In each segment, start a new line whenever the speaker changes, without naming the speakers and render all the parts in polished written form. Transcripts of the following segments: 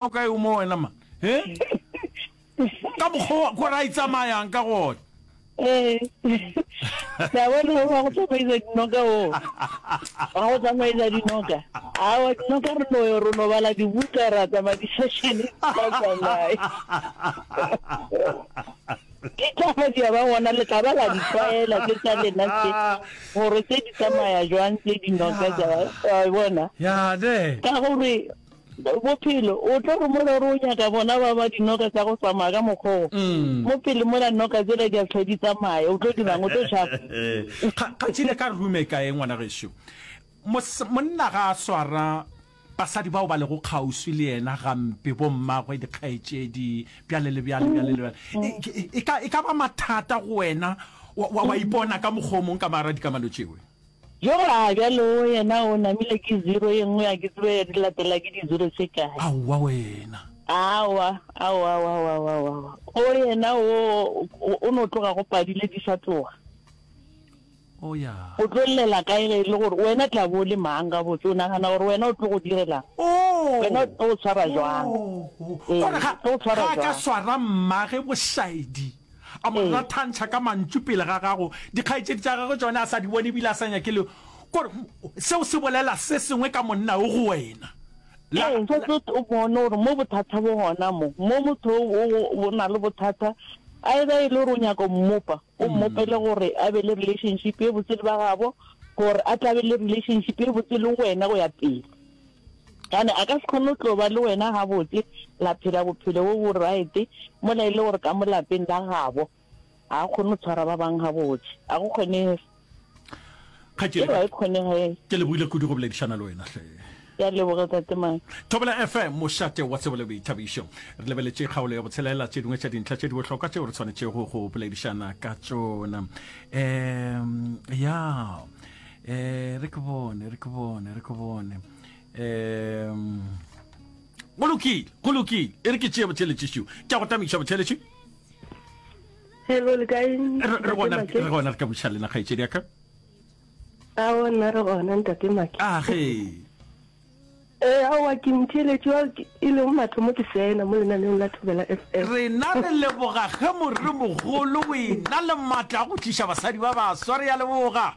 O kae o mo wena man? He? Ka mokgwa ko ra itsamayang ka gona.
Ee. La bona o wa go tsamaisa dinoka o. Wa go tsamaisa dinoka. Awa dinoka re no re no bala dibuka ra tsamaya di-session di sa tsamaye. Ke taba di a ba gona le tla ba la di tlwaela tse tsa lena tse gore tse di tsamaya jwang tse dinoka tsa wa bona.
Ya ne.
Ka gore Bophelo, o tlo re mola o re o nyaka bona ba ba dinoka tsa go tsamaya ka mokgwa o, mo pele mola noka tsela di a hlwe di tsamaya, o tlo dirang? O tlo tšhaba?
Kgatšile ka rume kae ngwana gešo? Monna ga a swara basadi bao ba lego kgauswi le yena gampe, bommagwe, dikgaetšedi, bjale le bjale, bjale le bjale. E, e ka ba mathata go wena wa, wa ipona ka mokgwa o mong ka magara dikamano tšewe?
Yo a bjalo o yena o namile ke zero ye nngwe a ke tsebe di latela ke di zero tše kae.
Aowa wena.
Aowa aowa aowa aowa aowa o yena o o no tloga go padile di sa tloga.
O ya.
O tlo llela kae ge e le gore wena tla bo o le mang gabotse o nagana gore wena o tlo go direlang? Wena o tlo go tshwara jwang?
Ee, o tlo go tshwara jwang? Ga a ka swara mmage bošaedi. A mo rathantšha ka mantšu pele ga gago. Dikgaetšedi tša gagwe tšona a sa di bone ebile a sa nyake le gore seo se bolela se sengwe ka monna yo go wena.
La, Ee, se tlo o bone gore mo bothata bo gona mo. Mo motho o, o na le bothata, either e le gore o nyaka go mmopa, o mmopele gore a be le relationship ye botse le ba gabo, gore a tla be le relationship ye botse le wena go ya pele. Gane a ka se kgone go tlo ba le wena gabotse, la phela bophelo bo bo right, mola e le gore ka mo lapeng la gabo ga a kgone go tshwara ba bang gabotse. A go kgonege.
Kgaetšedi,
Eo ga e kgonege.
Ke lebohile kudu go boledišana le wena hle.
Ke a leboga Tate Mike.
Thobela FM, mošate wa tsebo le boithabišo. Re lebeletše kgaolo ya botshelela, tše dingwe tša dintlha tše di bohlokwa tšeo re tshwanetšego go boledišana ka tšona. Um, ya, eh, re ke bone, re ke bone, re ke bone. Um, go lokile, go lokile. E re ke tšee botheletši Ke a go tamiša botheletši.
Hello, le kae?
Re re gona, re gona re ka buša lena kgaetšedi ya ka.
Aowa nna re gona ntate Maki.
A ge.
Ee, aowa ke mtheeletši wa e lego mathomo ke sena mo lenaneong la Thobela FM.
Rena re leboga ge moremogolo o ena le maatla a go tliša basadi ba baswa, re a leboga.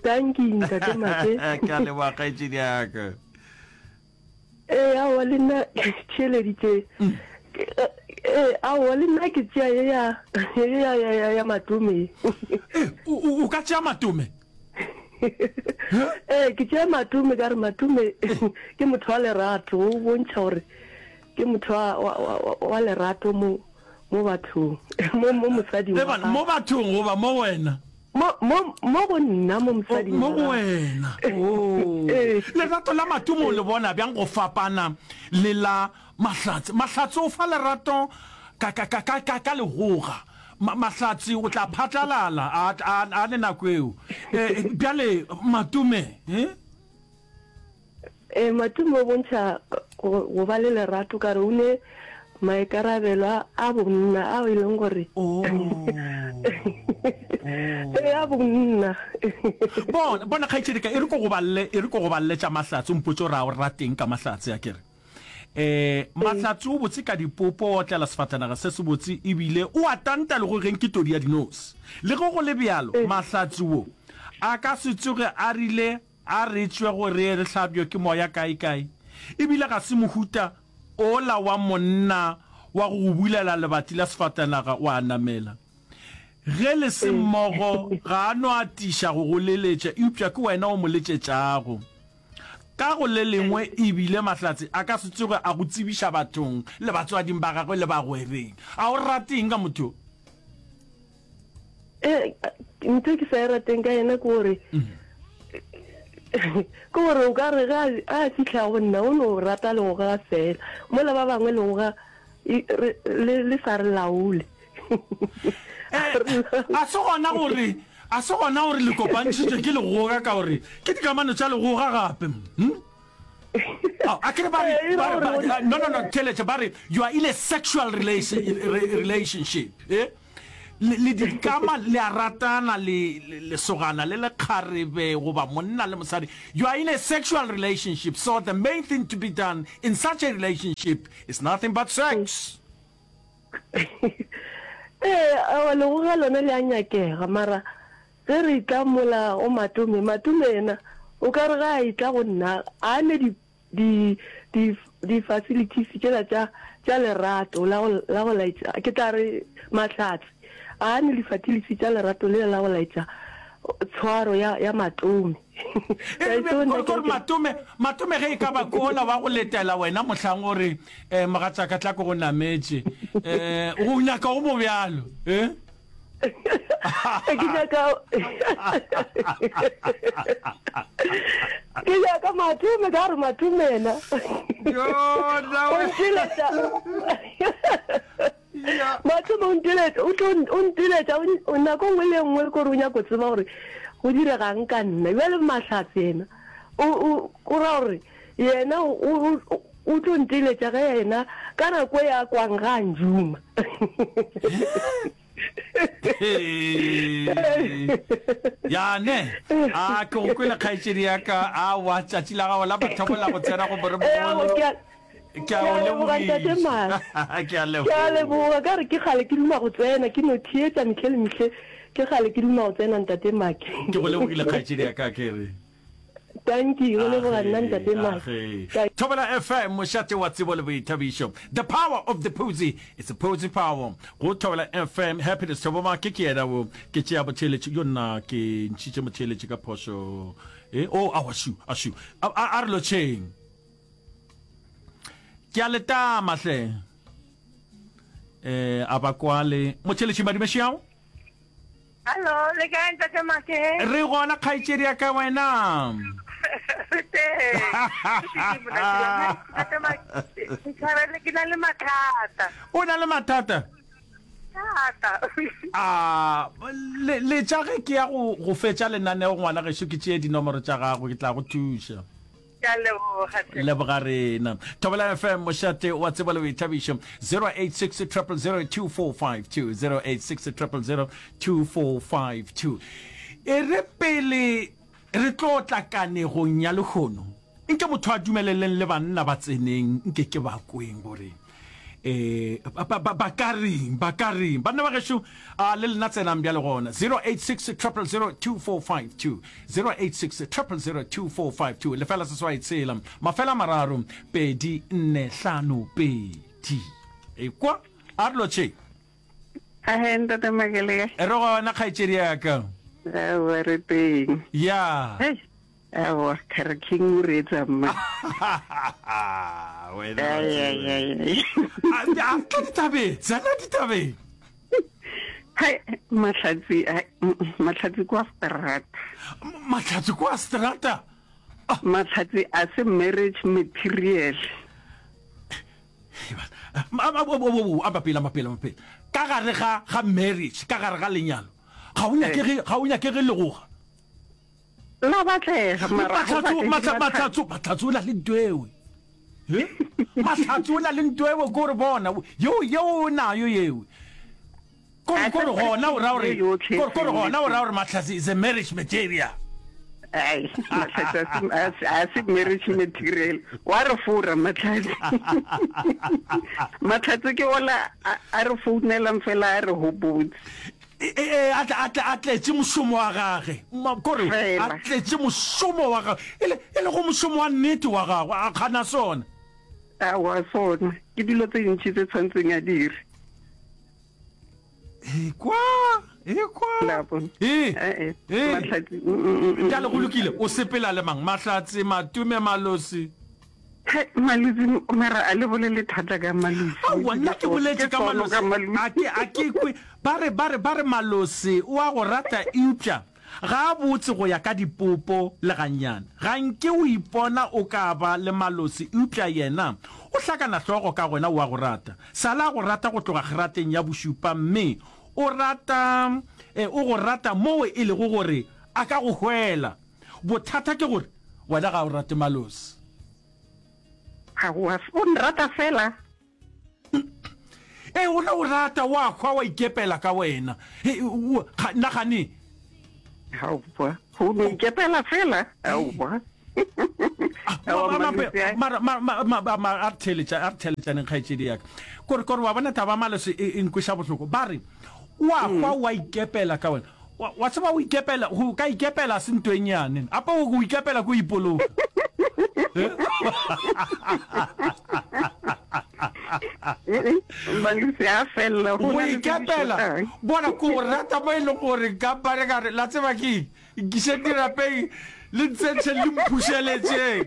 Tanki ntate Make.
Ke a leboga kgaetšedi ya ka.
Ee, aowa le nna ke theeleditše. Ee, aowa le nna ke tšea ye ya ye ya ya ya ya Matome.
Ee, o o ka tšea Matome?
Ee, ke tšea Matome ka re Matome ke motho wa lerato, o bontšha gore ke motho wa wa wa wa lerato mo mo bathong, mo mo mosading wa
gagwe. Mo bathong goba mo wena?
Mo, mo, mo go nna, mo mosading
Mo go wena. Oh. Lerato la Matumo o le bona bjang go fapana le la Mahlatse? Mahlatse o fa lerato ka, ka, ka, ka, ka, ka legoga. Ma, Mahlatse o tla phatlalala a, a, a le nako eo. Eh, bjale Matume, eh?
Ee, Matome o bontšha go, go ba le lerato ka re o ne maikarabelo a, a bonna ao e leng gore
Oh.
Ee, a bonna.
Bona, bona kgaetšedi ka, e re ko go balle, e re ko go balle tša Mahlatse, o mpotše gore a o rateng ka Mahlatse, a ke re. Eh, Mahlatse o botse ka dipopo, o otlela sefatanaga se sebotse, ebile o a tanta le go geng ke todi ya dinose. Le ge go le bjalo, Mahlatse wo a ka se tsoge a rile A re tšwe go re re hlabjwe ke moya kaekae. E bile ga se mohuta ola wa monna wa go go bulela lebati la sefatanaga wa namela. Ge le se mmogo ga a no atiša go go leletša eupša ke wena o mo letšetšago. Ka go le lengwe e bile Mahlatse a ka se tsoge a go tsebiša bathong le batswading ba gagwe le bagwereng. A o rate eng ka motho yo?
Eh, ntho e ke sa e rateng ka yena ke gore ke gore o ka re ge a fihla go nna o no rata legoga fela mola ba bangwe legoga le sa re laole.
Eh, a se gona gore a se gona gore le kopantšhitšwe ke legoga ka gore ke dikamano tša legoga gape hmm? Oh, a kere ba re
Eh,
ba re- ba-
gore-
no no no theletše ba re you are in a sexual relation, re- relationship eh? Le, le di kama, le a ratana, le, le, lesogana le lekgarebe, goba monna le mosadi. You are in a sexual relationship, so the main thing to be done in such a relationship is nothing but sex.
Ee, aowa, legoga lona le a nyakega, mara ge re etla mola go Matome, Matome yena o ka re ge a etla go nna, a ne di, di, di, di facilities tšela tša, tša lerato la go, la go laetša, ke tla re mahlatse, a ne di facilities tša lerato lela la go laetša tshwaro ya, ya Matome.
E re, kore, kore Matome, Matome ge e ka ba ke ola wa go letela wena mohlang o re, eh, mogatšaka tla ke go nametše, eh, o nyaka o mo bjalo, eh?
Ke nyaka ke nyaka Matome ka gore Matome yena o nteletša Matome o nteletša o tlo o nteletša nako nngwe le nngwe kore o nyako tseba gore go diregang ka nna bjale Mahlatse yena o o ra gore yena o o tlo nteletša ge yena ka nako e a kwang ga a njuma.
Ya ne, a ke go kwele kgaetšedi ya ka, aowa tšatši la gago la mathomo la go tsena go moremogolo. Ke a o
leboga ntate Mara.
Ke a leboga.
Ke a leboga ka re ke kgale ke duma go tsena ke no theetša mehle le mehle ke kgale ke duma go tsena ntate Maki.
Ke go lebogile kgaetšedi ya ka ke re.
Dankie, go leboga nna ntate Maki.
Thobela FM, mošate wa tsebo le boithabišo. The power of the Phuzi, it's a Phuzi power. Go Thobela FM, Happiness Thobo Maki ke yena wo. Ke tšea botheeletši, yo nna ke ntšhitše motheeletši ka phošo. Eh, oh, awa shu, ashu. A, a, a re lotšheng. Ke a letama hle. Eh, a ba kwale. Motheeletši Madimešiao?
Hallo, le kae ntate Make?
Re gona kgaetšedi ya ka wena.
Re teng. Ntate Make, ntshwarele ke na le mathata.
O na le mathata?
Thata.
A le letša ge ke ya go go fetša lenaneo ngwana gešo ke tšee dinomoro tša gago ke tla go thuša.
Ke a leboga hle.
Leboga rena. Thobela FM, mošate wa tsebo le boithabišo. 086 000 2452, 086 000 2452. E re pele re tlo tla kanegong ya lehono, nke motho a dumeleleng le banna ba tseneng, nke ke ba kweng gore eh ba, ba, ba ka reng, ba ka reng. Banna ba gešo, a le lena tsenang bjale gona. 086 000 2452, 086 000 2452, lefela seswai tshela, mafela mararo, pedi, nne, hlano, pedi. Ekwa, a re lotšheng.
Ahe, ntate Makele.
Re gona kgaetšedi ya ka.
Aowa, re teng.
Ya.
Hei, aowa, Kare King o reetsa mma.
Wena
Ai, ai, ai, ai.
A a tla ditabeng, tsena ditabeng.
Hai, Mahlatsi, hai, mm, mm, Mahlatsi kwa strata.
Mahlatsi kwa strata.
Mahlatsi a se marriage material.
Amba pele, amba pele, amba pele. Ka gare ga ga marriage, ka gare ga lenyalo, ga o nyakege, ga o nyakege legoga.
La batlega, mara ga o
Mahlatso,
batle
mahla,
Mahlatsi.
mahlatso, mahlatso o na le nto ewe. He? Mahlatso o na le nto ewe, ko re bona, yeo, yeo o nayo yewe. Ko re,
A
ko re
se
gona o ra gore,
ye yotlhe
ko re, ko re gona o ra
felletseng.
gore Mahlatsi is a marriage material.
Ai, Mahlatsi a se, a se, a se marriage material. Wa re fora Mahlatsi. Mahlatsi ke ola a, a re founelang fela a re hopotse.
E, e, e, a tle, a tle, a tletše mošomo wa gage. Ma, ko re, a
Fela.
tletše mošomo wa gagwe. E le, e lego mošomo wa nnete wa gagwe, a kgana sona.
Aowa, sona. Ke dilo tse dintši tse tshwanetseng a dire.
Ekwa, ekwa.
La bona.
Ee,
Eh, eh,
ee.
Mahlatsi. mm, mm, mm, mm,
Bjale go
mm.
lokile, o sepela le mang? Mahlatse, Matume, Malosi.
He, Malosi, mara a le bolele thata ka Malosi.
Aowa, nna ke boletše ka
sono
Malosi.
ka Malosi.
A ke, a ke kwe. Ba re, ba re, ba re Malosi o a go rata eupša ga a botse go ya ka dipopo le gannyane. Ga nke o ipona o ka ba le Malosi eupša yena o hlakana hlogo ka gona o a go rata. Sala a go rata go tloga grateng ya bošupa mme o rata, e, o go rata moo e lego gore a ka go hwela. Bothata ke gore wena ga o rate Malosi.
Aowa, o nrata fela.
Ee, o no o rata, wa hwa wa ikepela ka wena. He, o, ga, nagane.
Aowa, go no ikepela fela, aowa. Aowa, Malosi a.
Mara, ma, ma, ma, ma, ma, a re theeletša, a re theeletšaneng, kgaetšedi ya ka. Kore, kore wa bona taba ya Malosi e, e nkweša bohloko. Ba re, wa hwa wa ikepela ka wena. Wa, wa tseba go ikepela, go ka ikepela se nto e nnyane. Ape go ikepela ke go ipoloka.
Malosi a felela, go
Go
na le tse di
ikepela,
šotang.
bona ke go rata mo e leng gore nka ba re ka re, la tseba ke eng? Nkišeng dirapeng, le ntsentšheng le mphušeletšeng.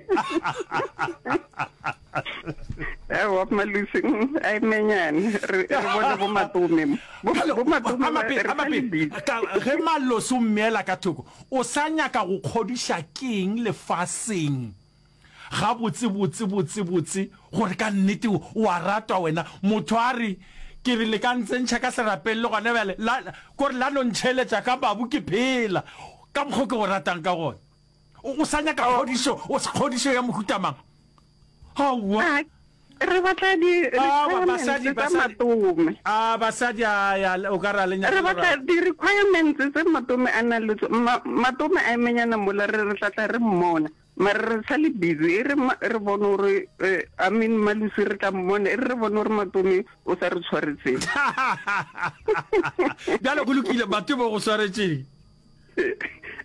Aowa, Malusi, mm, a emenyane. Re, re bone bo Matome mo. Bo,
Bjale,
bo Matome
a
ba,
mape,
re
a
sa
mape,
le busy.
ka, ge Malosi o mmeela ka thoko, o sa nyaka go kgodiša keng lefaseng gabotse, botse, botse, botse, gore ka nnete o, o a ratwa wena? Motho a re, Ke re le ka ntsentšha ka serapeng le gona bjale, la, kore la no ntšheletša ka mabu ke phela, ka mokgo ke go ratang ka gona. O, o sa nyaka kgodišo, o, kgodišo ya mohuta mang? Aowa.
A, re batla di
Aowa,
requirements
basadi,
tsa
basadi.
Matome.
A, basadi, a, ya, o ka re a le nyake
Re batla
lerato.
di requirements tse Matome a nang le tso-, ma, Matome a emenyana mola re re tla tla re mmona. Mara re sa le busy, e re ma, re bone gore, eh, I mean, Malusi re tla mmona, e re re bone gore Matome o sa re tshwaretseng.
Bjale go lokile, Matome o go swaretšeng?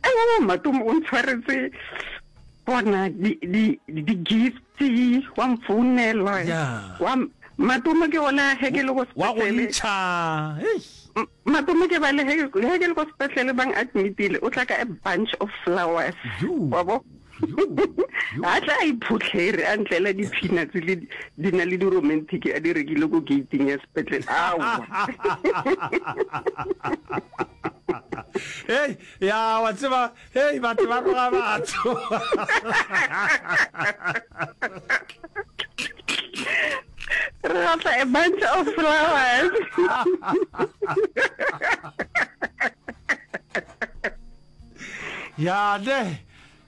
Aowa, Matome o ntshwaretse bona di, di, di gifts, wa mfounela,
Yeah.
wa, Matome ke ona ge ke le ko
Wa go
sepetlele.
ntšha, eish.
Matome ke bale ge, ge ke le ko sepetlele bang admitile, o tla ka a bunch of flowers.
Yo.
Wa bo?
Yo, yo.
A tla a iphotlhere, a ntlela di-peanuts le di na le di-romantic a di rekile ko gating ya sepetlele. Aowa.
Hei, ya wa tseba, hei batho ba roga batho.
Re batla a bunch of flowers.
Ya ne.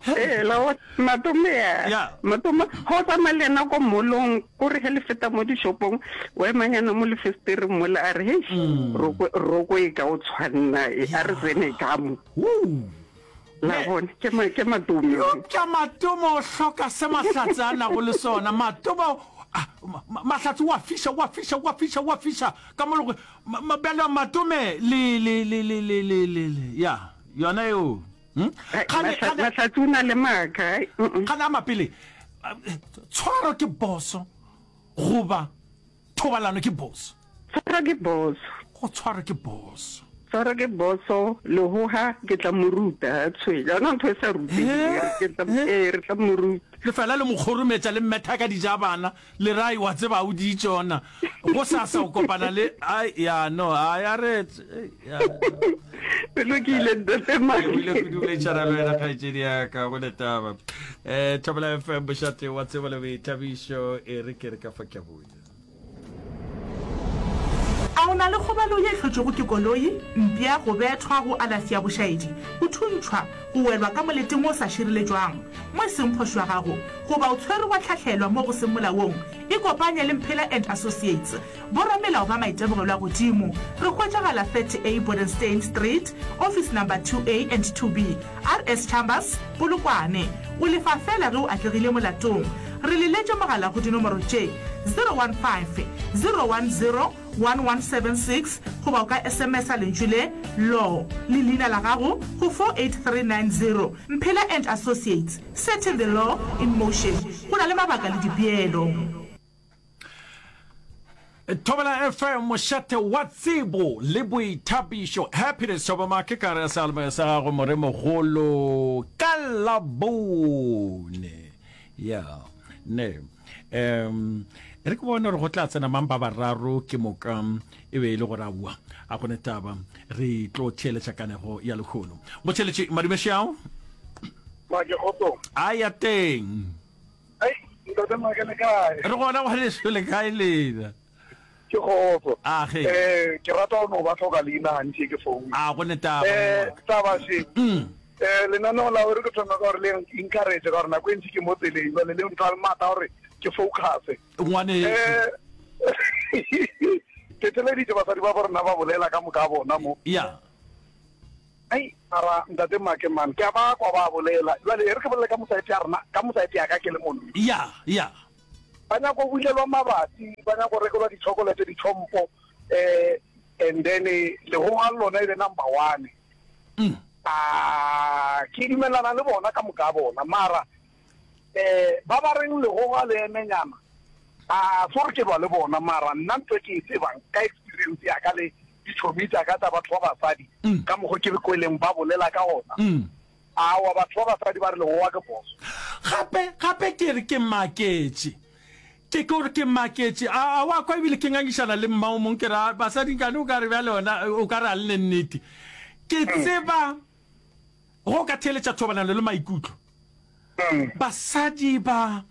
Ee, la wa Matome ya.
Ya.
Matome, ga o tsamaya le yena ko mall-ong, ko re ge le feta mo dishopong, wa emanyana mo lefestereng mola a re, hei, roko, roko e ka o tshwanna e, a re tsene ka mo.
Woo.
La bona, ke ma, ke Matome.
Eupša Matome o hloka se Mahlatse a nago le sona. Matome o, ah, ma, ma, Mahlatse o a fiša, o a fiša, o a fiša, o a fiša, ka mo le go, ma, ma, bjale Matome le, le, le, le, le, le, le, le, ya, yona eo. Hmm? Kgane, kgane,
Mahlatse o na le maaka. Ai, mm-mm.
Kgane a mapele, tshwaro ke boso goba thobalano ke boso?
Tshwaro ke boso.
Go tshwaro ke boso.
Tshwaro ke boso, lehoga ke tla mo ruta, tshwele. Yona ntho e sa rutegeng, ke tla, ee, re tla mo ruta.
Le fela le mo kgorometša le mmetha ka dijabana, le re, Ai, wa tseba, o di tšona. Gosasa o kopana le, ai, ya, no, ai, a re, ya.
Go lokile, Ntate Maki.
Ke buile kudu boledišana le wena, kgaetšedi ya ka, go ne taba. Eh, Thobela FM, mošate wa tsebo le boithabišo, e re ke re ka fa ke a boya.
A o na le kgobalo ye e hlotšwego ke koloi, mpša, go bethwa, go alafi ya bošaedi, go thuntšhwa, go welwa ka moleteng wo o sa šireletšwang, mo e seng phošo ya gago, goba o tshwerwe wa hlahlelwa mo go seng molaong? Ikopanye le Mphela and Associates, boramelao ba maitemogelo a godimo. Re hwetšagala 30A Bodenstein Street, Office Number 2A and 2B, RS Chambers, Polokwane. O lefa feela ge o atlegile molatong. Re leletše mogala go dinomoro tše, 015 010 1176 goba o ka SMS-a lentšu le, Law, le leina la gago go 48390. Mphela and Associates, setting the law in motion. Go na le mabaka le dipeelo.
Thobela FM, mošate wa tsebo le boithabišo. Happiness Thobamake ka re seyalemoya sa gago moremogolo ka Labone. Ya, ne. Um, e re ke bone gore go tla tsena mang ba bararo ke moka e be e le gore aowa a gone taba re tlo theeletša kanego ya lehono. Motheeletši madumešao.
Make kgotsong.
A ya teng.
Ei, ntate Make le kae?
Re gona ngwaneso le kae lena?
Ke kgotso.
A ge.
Eh, ke rata go no ba hloka leina gantši ke founa.
A go ne taba.
Eh, taba še.
Mm.
Eh, lenaneo la gore ke thoma ka gore le encourage ka gore nako e ntši ke mo tseleng jwale le mpha maatla gore ke focus.
Ngwaneso.
Eh, ke. Ke theleditše basadi ba bo rena ba bolela ka moka bona mo.
Ya.
Ai, mara ntate Make man, ke a ba kwa ba bolela. Jwale e re ke bolele ka mosaete ya rena, ka mosaete ya ka ke le monna.
Ya, ya.
Ba nyaka go bulelwa mabati, ba nyaka go rekelwa di-chocolate, ditlhompho, eh, and then legoga le lona e be number one.
Mm.
Ah, ke dumelana le bona ka moka bona, mara eh ba ba reng legoga le emenyana, a se gore ke lwa le bona, mara nna ntho e ke e tsebang ka experience ya ka le ditšhomi tša ka tša batho ba basadi,
Mm.
ka mokgo ke re kweleng ba bolela ka gona,
Mm.
aowa batho ba basadi ba re legoga ke phoso.
Gape, gape ke re ke maketše. Ke ke gore ke maketše. A, a wa kwa ebile ke ngangišana le mma o mong ke re, a basadi nkane o ka re bjale ona o ka re a le ne nnete. Ke tseba go ka theeletša thobalano le maikutlo. Basadi ba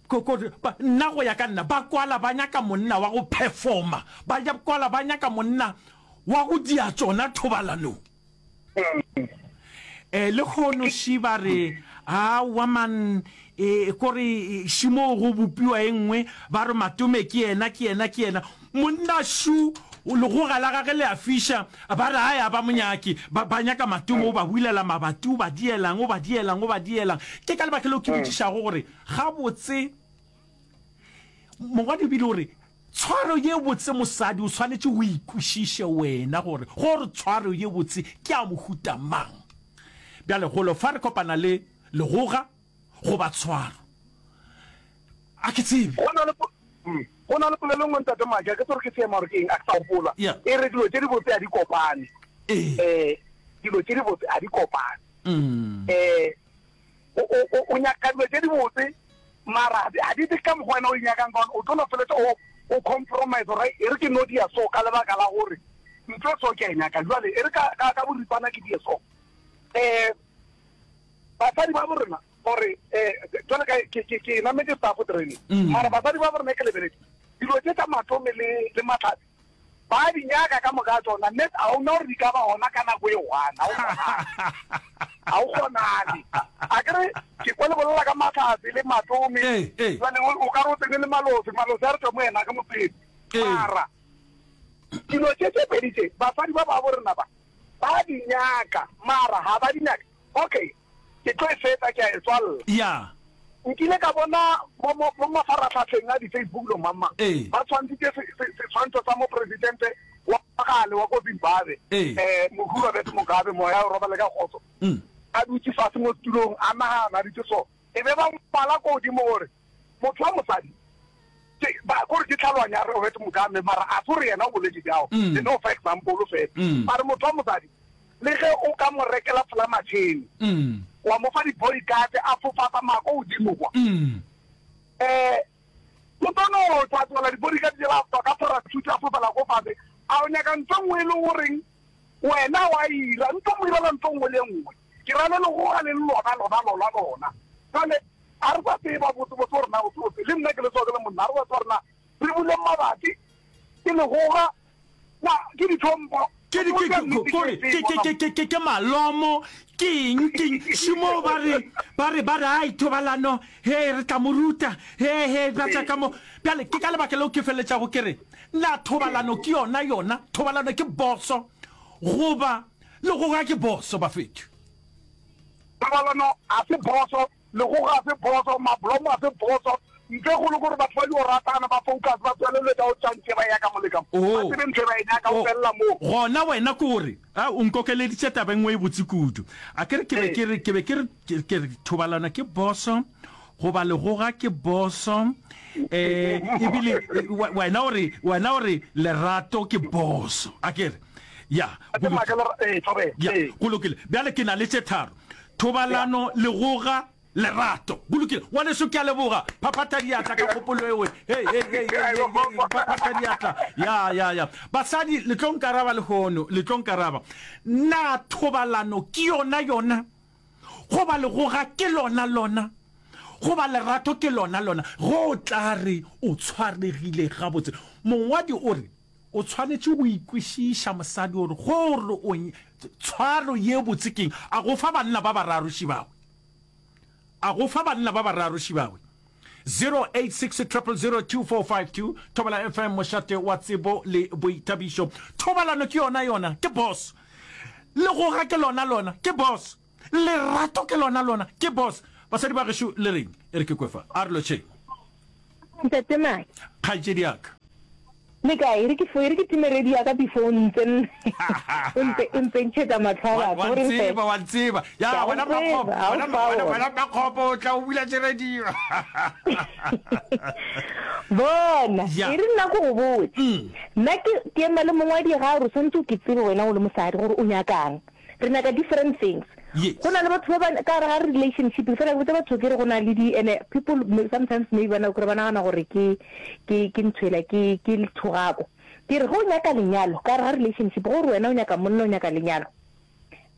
ko, ko, ba, nna go ya ka nna, ba kwala ba nyaka monna wa go performa. Ba ja kwala ba nyaka monna wa go dia tšona thobalanong. Eh, lehono ši ba re, Aowa man, e, kore ši moo go bopiwa e nngwe, ba re Matome ke yena, ke yena, ke yena. Monna šu, legoga la gage le a fiša, ba re ae a ba mo nyake, ba, ba nyaka Matome, o ba bulela mabati, o ba dielang, o ba dielang, o ba dielang. Ke ka lebaka leo ke botšišago gore, gabotse, mongwadi o bile o re, Tshwaro ye botse mosadi o swanetše o ikwešiše wena gore gore tshwaro ye botse ke ya mohuta mang. Bjale golo fa re kopana le legoga goba tshwaro. A ke tsebe.
Go na le go na le polelo e nngwe Ntate Maki, a ke tsebe gore ke seema gore ke eng, a ke sa gopola. E re dilo tše dibotse ga di kopane. Ee. Dilo tše dibotse ga di kopane. Ee. O, o, o, o nyaka dilo tše dibotse, mara ga di tle ka mokgwa wena o di nyakang ka gona. O tlo no feletša o, o compromise gore e re ke no dia so ka lebaka la gore ntho e so ke a e nyaka. Jwale e re ka, ka, ka boripana ke die so. Um basadi ba borena gore um jwale ka ke, ke, ke nametše staff training, mara basadi ba borena ke lebeletše dilo tše tša matome le, le mahlatse. Ba di nyaka ka moka ga tšona, mme ga o na gore di ka ba gona ka nako e one, ga o kgonale. Ga o kgonale. A ke re, ke kwa le bolela ka Mahlatse le Matome, jwale o ka re o tsene le Malose, Malose a re tšwa mo yena ke motswetsi. Mara dilo tše tše pedi tše, basadi ba babo rena ba, ba di nyaka, mara ga ba di nyake. Okay, ke tlo e fetsa, ke a e tswalla.
Ya.
Nkile ka bona mo, mo, mo mafaratlhatlheng a di-Facebook lo mang mang,
Ee.
ba tshwantshitše se, se, setshwantsho sa mopresidente wa kgale wa ko Zimbabwe,
Ee.
eh, mohu Robert Mugabe, moya o robale ka kgotso,
Mm.
a dutše fase mo setulong, a nagana, a dutše so. E be ba ngwala ko godimo gore, Motho wa mosadi, ke, ba, kore ke tlhaloganyo ya Robert Mugabe, mara a se gore yena o boletše bjao,
Mm.
ke no fa example fela.
Mm.
Ba re motho wa mosadi, le ge o ka mo rekela folamatšhene,
Mm.
wa mo fa di-bodyguard, a fofa tsamaya ko godimo kwa,
Mm.
eh, o tlo no tla tlola di-bodyguard tšela, a tswa ka parachute a fofela ko fase, a o nyaka ntho e nngwe e le goreng wena wa ira, ntho mo irela ntho nngwe le nngwe. Ke ra le legoga le le lona, lona, lona, lona. Jwale, a re sa tseba botsebotse gore na botsebotse, le nna ke le tsoa ke le monna, a re sa tseba gore na re buleng mabati, ke legoga, na ke ditlhompho.
Ke di, ke, ke, kore, ke, ke, ke, ke, ke, ke malomo, ke eng, ke eng, šimo ba re, ba re, ba re, ai, thobalano, he, re tla mo ruta, he, he, ba tla ka mo. Bjale, ke ka lebaka leo ke feleletšago ke re, na thobalano ke yona, yona, thobalano ke boso, goba legoga ke boso, bafethu?
Thobalano ga se phoso, legoga ga se phoso, mablomo ga se phoso. Ntho e kgolo ke gore batho ba dio ratana, ba focus, ba tlohele dilo tša go tša ntše ba eya ka mo le ka mo. Ba
Oh.
tsebe ntho e ba e nyaka, o
Oh.
felela moo.
Gona wena ke gore, a, o nkokeleditše taba e nngwe e botse kudu. A ke re ke be
Ee.
ke re, ke be ke re, ke, ke re thobalano ke boso, goba legoga ke boso, eh, ebile we- wena o re, wena o re lerato ke boso. A ke re? Ya, go lokile. Ya, go lokile. Bjale ke na le tše tharo. Thobalano, legoga, lerato. Go lokile. Ngwaneso, ke a leboga. Phaphatha diatla ka kgopolo eo. Hei, hei, hei, hei, hei, hei, phaphatha diatla. Ya, ya, ya. Basadi, le tlo nkaraba lehono, le tlo nkaraba. Na thobalano ke yona yona? Goba legoga ke lona lona? Goba lerato ke lona lona? Ge o tla re o tshwaregile gabotse. Mongwadi o re, O tshwanetše go ikwešiša mosadi gore gore o tshwaro ye botse keng. A go fa banna ba bararo šibawe. A go fa banna ba bararo šibawe. 086 000 2452 Thobela FM mošate wa tsebo le boithabišo. Thobalano ke yona yona, ke boss. Legoga ke lona lona, ke boss. Lerato ke lona lona, ke boss. Basadi ba gešo le reng? E re ke kwe fa. A re lotšheng.
Ntate Maki.
Kgaetšedi ya ka.
Le kae? E re ke fo, e re ke time radio ya ka before o ntse o ntse o ntse ntšhetša mahlo a batho.
Wa
O reng fe?
ntseba, wa ntseba.
Ke
Ya
a go
wena
tseba,
Mmakgopo,
ga o
wena
fa
wena
ona.
wena Mmakgopo o tla o bula radio.
Bona,
Ya.
e re nna ko go botse. Nna ke ke ema le mongwadi ga a re o swanetše o ke tsebe wena o le mosadi gore o nyakang. Re nyaka different things.
Yes.
Go na le batho ba ba ka gare ga relationship fela ke botsa batho ke re go na le di ene people sometimes maybe ba na kore ba nagana gore ke ke ke ntho ela ke ke thogako. Ke re ge o nyaka lenyalo ka gare ga relationship gore wena o nyaka monna o nyaka lenyalo.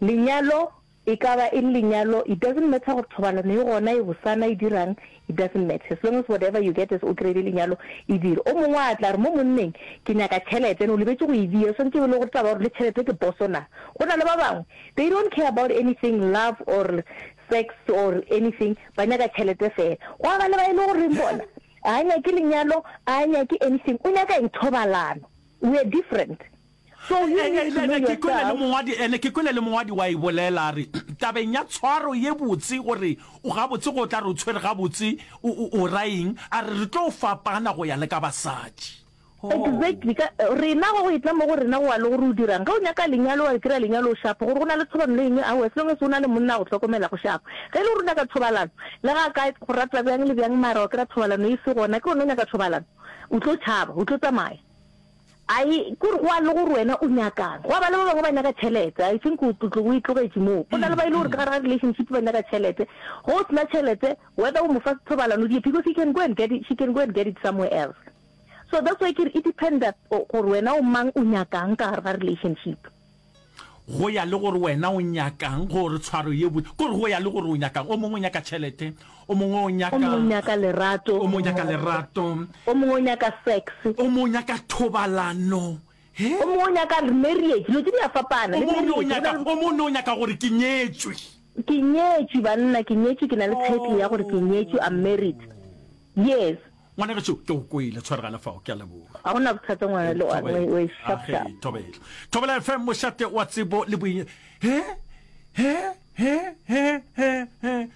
Lenyalo e ka ba e le lenyalo it doesn't matter gore thobalano e gona e bosana e dirang It doesn't matter as long as whatever you get is o kry-ile lenyalo e dire. O mongwe a tla re mo monneng ke nyaka tšhelete and o lebetše go e bea, o swanetše e be le gore taba ya gore le tšhelete ke poso na. Go na le ba bangwe they don't care about anything love or sex or anything ba nyaka tšhelete fela. Gwa ba le ba e le goreng bona ga a nyake lenyalo, ga a nyake anything o nyaka eng thobalano. We are different. So you need to know
Ene ke kwele le
yourself.
mongwadi, ene ke kwele le mongwadi wa e bolela a re, tabeng ya tshwaro ye botse gore o gabotse go tla re o tshwere gabotse o, o, o ra eng, a re re tlo fapana go ya le ka basadi. Oh.
Exactly, ka, rena go go etla mo go rena go wa le gore o dirang. Ge o nyaka lenyalo wa kry-a lenyalo o shapo, gore go na le thobalano e nngwe, aowa, as long as o na le monna a go hlokomela go shapo. Ge e le gore o nyaka thobalano, le ga a ka go rata bjang le bjang mara wa kry-a thobalano e se gona, ke gona o nyaka thobalano, o tlo tšhaba, o tlo tsamaya. Ai, ke gore go a le gore wena o nyakang. Gwa ba le ba bangwe ba nyaka tšhelete. I think o tlo o e tlogetše moo. Go na le ba e le gore ka gare ga relationship ba nyaka tšhelete. Ge o sena tšhelete, whether o mo fa thobalano o di because he can go and get it, she can go and get it somewhere else. So that's why ke re e dependa gore wena o mang o nyakang ka gare ga relationship.
Go ya le gore wena o nyakang, gore tshwaro ye botse, kore go ya le gore o nyakang. O mongwe o nyaka tšhelete, o mongwe o nyaka,
O mongwe o nyaka lerato,
o mongwe o nyaka lerato,
o mongwe o nyaka sex,
o mongwe o nyaka thobalano, he?
O mongwe o nyaka marriage, dilo tše di a fapana.
O
Le
mongwe o
marriage, go na
nyaka,
le
o mongwe o nyaka gore ke nyetšwe.
Ke nyetšwe banna, ke nyetšwe, ke na le title ya gore ke nyetšwe, I'm married. Yes.
Ngwanagešo, ke go kwele, tshwaregana fao, ke a leboga.
Ga go na bothata ngwana le wa,
Thobela.
we sharp
Age,
sharp.
thobela. Thobela FM, mošate wa tsebo le boinye. He, he, he, he, he, he.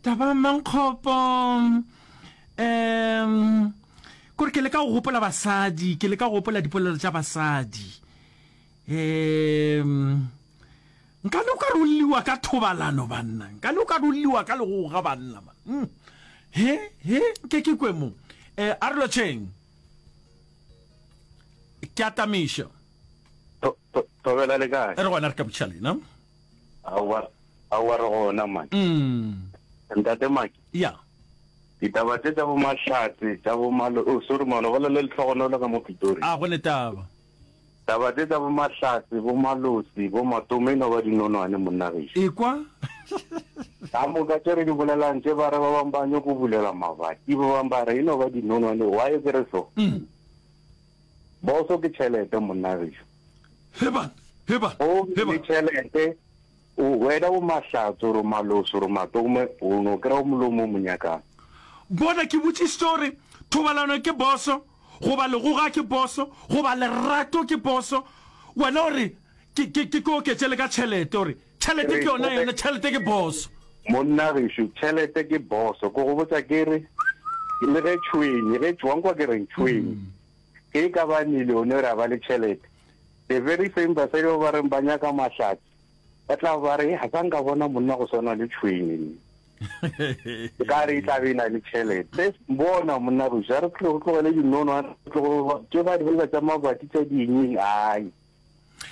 Taba Mankgopo. Um, kore ke leka go gopola basadi, ke leka go gopola dipolelo tša basadi. Um, Nka no ka rolliwa ka thobalano banna, nka no ka rolliwa ka legoga banna man. Mm. He, he, nke ke kwe mo. Eh, a re lotšheng. Ke atamiša.
Thobela le kae?
Re gona re ka botšiša lena.
Aowa, aowa re gona man.
Mm.
Ntate Maki.
Ya.
Ditaba tše tša bo Mahlatse, tša bo Malo, oh sorry man, o bolela le Lehlogonolo ka mo Pitori.
A go ne taba.
Taba tše tša bo Mahlatse, bo Malosi, bo Matome e no ba dinonwane monna gešo.
Ekwa.
Ka moka tše re di bolelang tše ba re ba bang ba nyoko bulela mabati, ba bang ba re e no ba dinonwane. Why ke re so? Boso ke tšhelete monna gešo.
Heban, heban,
O
heban.
le tšhelete, o wena o Mahlatse oro Malosi oro Matome o no kry-a o molomo o mo nyakang.
Bona ke botšišitše gore thobalano ke boso Goba legoga ke poso, goba lerato ke poso. Wena o re, Ke, ke, ke oketše le ka tšhelete. O re, Tšhelete ke yona yona, tšhelete ke boso.
Monna gešo, tšhelete ke boso. Ke go botša ke re, le ge tšhwenye, ge, wa nkwa ke reng? Tšhwenye. Ge e ka ba millionaire a ba le tšhelete, the very same basadi ba ba reng ba nyaka mahlatse, ba tla ba re, ga sa nka bona monna go swana le tšhwenye nne. E ka re e tla be e na le tšhelete. Bona monna gešo, a re tlo tlogele dinono, a re tlogo tše ba di bolela tša mabati tša dieng, ai.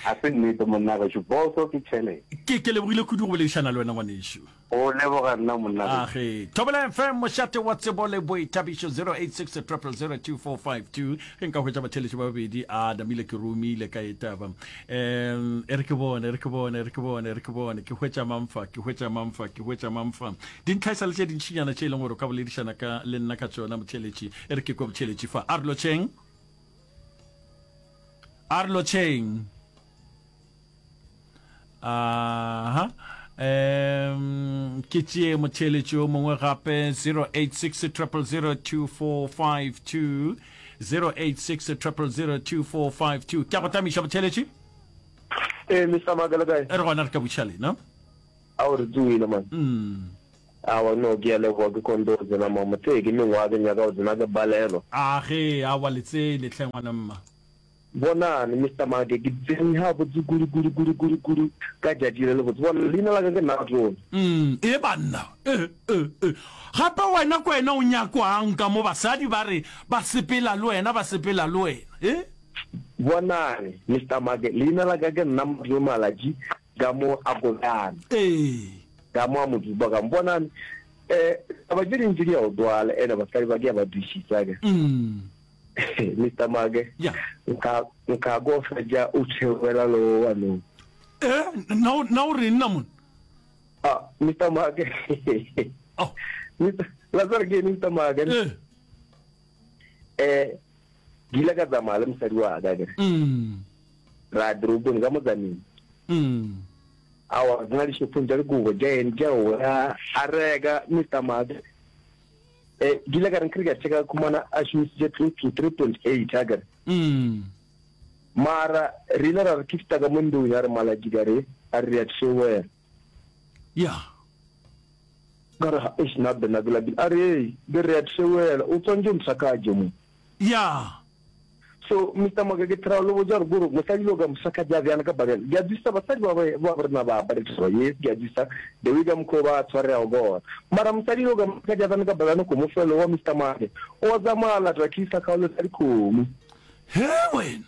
Ga se nnete monna gešo, boso ke tšhelete.
Ke, ke lebogile kudu go boledišana le wena ngwanešu.
Go leboga nna monna gešo.
Age. Thobela FM, mošate wa tsebo le boithabišo, 086 000 2452. Ge nka hwetša batheeletši ba babedi, a namile ke romile ka e taba. Um, e re ke bone, e re ke bone, e re ke bone, e re ke bone, ke hwetša mang fa, ke hwetša mang fa, ke hwetša mang fa. Dintlha e sa le tše dintšinyana tše e leng gore o ka boledišana ka le nna ka tšona motheeletši. E re ke kwe motheeletši fa. A re lotšheng. A re lotšheng. Aha. Um ke tšee motheeletši yo mongwe gape 086 000 2452 086 000 2452. Ke a go tamiša motheeletši.
Ee, Mister Maka le kae?
Re gona re ka buša lena.
Ao re tsoile man.
Mm.
Awa no ke a leboga ke kgonne go tsena mama tse ke mengwaga ke nyaka go tsena ke balelwa.
A ge awa le tsene hle ngwana mma.
Bonang Mister Make ke tsene ga botse kudu kudu kudu kudu kudu ka tšatši le lebotse bona leina la ka ke Natone.
Mm e banna e e e gape wena ko wena o nyakwang ka mo basadi ba re ba sepela le wena ba sepela le wena e.
Bonang Mister Make leina la ka ke nna Matome Malatji Ka mo a kobjana.
Ee.
Ka mo a mo dupa ka mo. Bonang, eh, taba tše dintši di a o twala, ene basadi ba ke a ba dušisa ke.
Mm.
Mister Make.
Yeah.
Nka, nka go fetša o tšhewela le o wa no.
Eh, na o, na o reng na mon?
Ah, Mister Make.
Oh.
Mister, la tsare ke Mister Make.
Eh.
Eh, ke ile ka tsamaya le mosadi wa ka ke.
Mm.
Ra ya toropong ka motsaneng. Aowa, re tsena dishopong tša dikobo tša eng tša oa, a reka Mister Maka. Eh, ke ile ka re nkere ka checka ka khumana a šomisitše close to 3.8 akere. Mara re ile ra re ke fihla ka mo ndong ya re malatši ka re a re re ya tšhewela.
Ya.
Ka re eish nna bena ke lapile. A re ei, be re ya tšhewela, o tswantše o ntlhakatše mo.
Ya.
So Mister Maka ke try lo botša gore kore mosadi lo ka mosakatša bjana ka bakela ke a dusa basadi ba ba ba rena ba apare taba yes ke a dusa the way ka mokgwa ba tshwareago ka gona mara mosadi lo ka mosakatša bjana ka bakela ko mofelo wa Mister Maka o tsamaya lata kisa kgaolo tsa dikgomo.
He wena.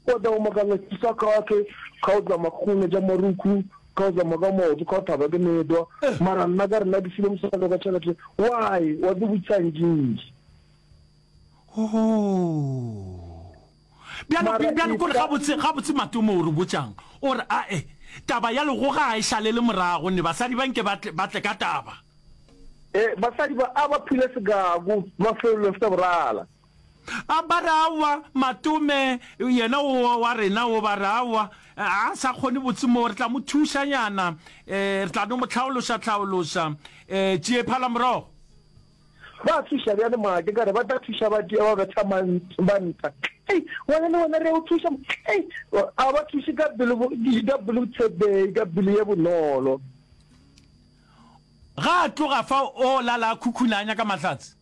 O tla go makala kisa kgake kga o tsamaya kgone tša marukhu kga o tsamaya ka maoto kga o thaba ke medwa mara nna ka rena ke file mosadi ka tšhelete why wa ke botša ntši.
Oh. Bjalo,
Mara
bjalo kore
e ka-
gabotse, gabotse Matome o re botšang? O re, ae, taba ya legoga ga e šalele morago, ne basadi ba nke ba tle, ba tle ka taba.
Eh, basadi ba a ba phile sekaku, mafelelong sa borala.
A ba re aowa, Matome, yena o wa rena o, ba re aowa, a sa kgone botse mo, re tla mo thušanyana, eh, re tla no mo hlaološa-hlaološa, eh, tšie phala morogo.
Ba thuša bjale make ka re ba tla thuša ba tia ba betha ba nta. Ei, wena le wena re a o thuša. Ei, a ba thuše ka pelo ka pelo tshepehi, ka pelo ye bonolo.
Ga a tloga fa o lala a khukhuna a nyaka mahlatse.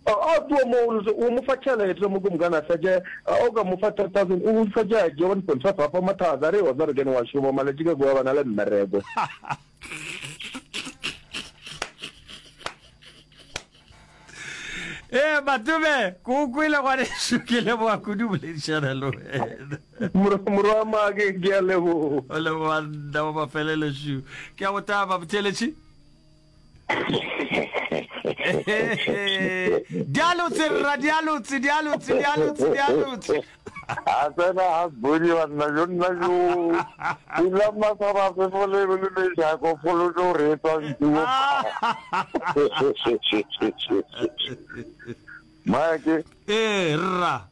A tloga mo o mo fa tšhelete mo ke mokana a fetše o ka mo fa 3000 o fetše a tšea 1.5 a fa mathata a re wa tseba re kene wa šoma malatši ka kua ba na le mmereko.
Ee, Matome, ke o kwele ngwanešu, ke leboga kudu boledišana le wena.
Morwa wa make, ke a leboga.
O leboga nna wa mafelelo šu. Ke a go taba, botheletši. Dialotse rra, dialotse, dialotse, dialotse, dialotse.
A tsena ga bodi banna jo nna jo. Pula masaba fefo le le mejako pholo tlo re tswa ntuo. Mike.
Eh rra.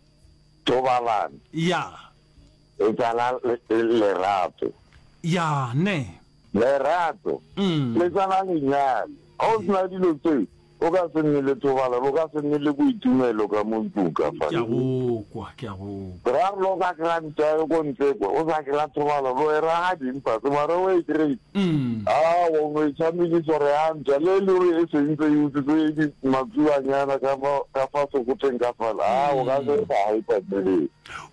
Thobalano.
Ya.
E tsala lerato.
Ya ne.
Lerato le tswala lenyalo. Ga o sena dilo tse, o ka se nne le thobalano, o ka se nne le boitumelo ka mo ntlong ka fa.
Ke a go kwa, ke a go
kwa. Ra re lo ka kry-a ntwa e ko ntle kwa, o sa kry-a thobalano, o e raga ding fase, mara o e kry-ile. Aowa, o no e tshamekisa gore ya ntwa, le e le gore e sentse e utswitse matsuanyana ka fa, ka fa sekoteng ka fale, aa, o ka se e sa hyper tsebeng.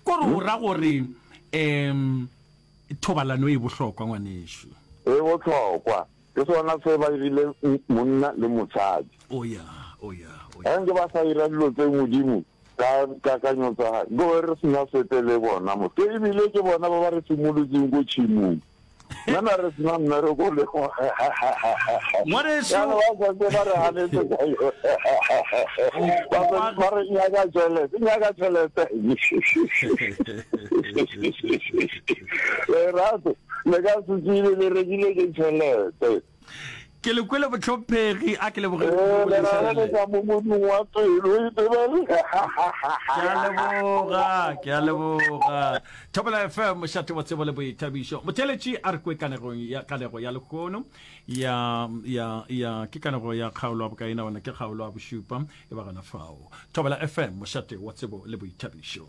Kore o ra gore um Thobalano e bohlokwa ngwanešu.
E bohlokwa. Ke sona se ba irile monna le mosadi.
O ya, o ya, o ya.
Ge nke ba sa ira dilo tse Modimo ka kakanyo tsa gae, nke be re sena sepe le bona mo. Ke ebile ke bona ba ba re simolotseng ko tšhimong. Nna na re sena mmereko le
Ngwanešu.
Jaanong ba santse ba re ganetse ka yone. Ba ba re nyaka tšhelete, nyaka tšhelete. Lerato le ka se tsebe le rekile ke tšhelete.
Ke le kwele bohlomphegi, a ke leboge
Eh,
kudu
le
boledišana le.
raleleka mo modung wa pelo e tebele.
Ke a leboga, ke a leboga. Thobela FM, mošate wa tsebo le boithabišo. Motheeletši a re kwe kanegong ya kanego ya lehono ya ya ya ke kanego ya kgaolo ya bokae na wena ke kgaolo ya bošupa e ba gona fao. Thobela FM, mošate wa tsebo le boithabišo.